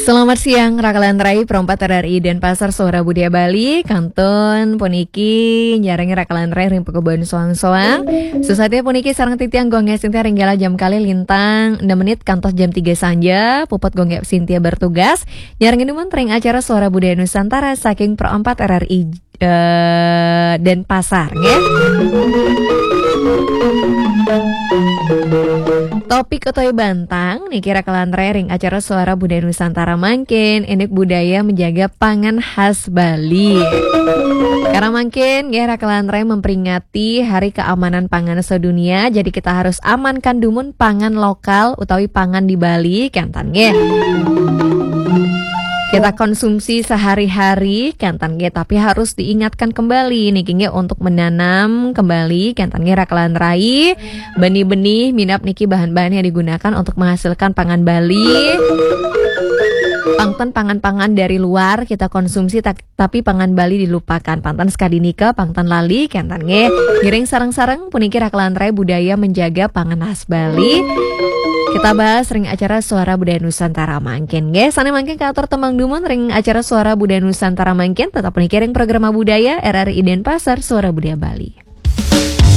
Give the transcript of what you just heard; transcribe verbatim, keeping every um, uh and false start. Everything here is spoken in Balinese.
Selamat siang, Rakalan Rai, Pro empat R R I Denpasar, Suara Budaya Bali. Kantun puniki nyarengi Rakalan Rai ring pakubon soang-soang. Susatia puniki sareng titiang Gung Gek Sintia ring galah jam kalih lintang enam menit kantos jam tiga sanja, puput Gung Gek Sintia bertugas. Nyarengi dumun ring acara Suara Budaya Nusantara saking Pro empat R R I eh, Denpasar, nggih. Topik utawi bantang niki Rakalan Rai ring acara Suara Budaya Nusantara mangkin, indik budaya menjaga pangan khas Bali. Karena mangkin nggih, Rakalan Rai memperingati Hari Keamanan Pangan Sedunia, jadi kita harus amankan dumun pangan lokal utawi pangan di Bali, kénten nggih. Kita konsumsi sehari-hari, kénten nggih, tapi harus diingatkan kembali niki nggih, untuk menanam kembali, kénten nggih, Rakalan Rai, benih-benih minab niki bahan-bahan yang digunakan untuk menghasilkan pangan Bali. Pangten pangan-pangan dari luar kita konsumsi, tak tapi pangan Bali dilupakan. Pangten sakadi nika, pangten lali, kénten nggih. Ngiring sareng-sareng puniki Rakalan Rai budaya menjaga pangan khas Bali. Kita bahas ring acara Suara Budaya Nusantara mangkin, nggih. Sané mangkin katur tembang dumun ring acara Suara Budaya Nusantara mangkin, tetap puniki ring Programa Budaya R R I Denpasar, Suara Budaya Bali.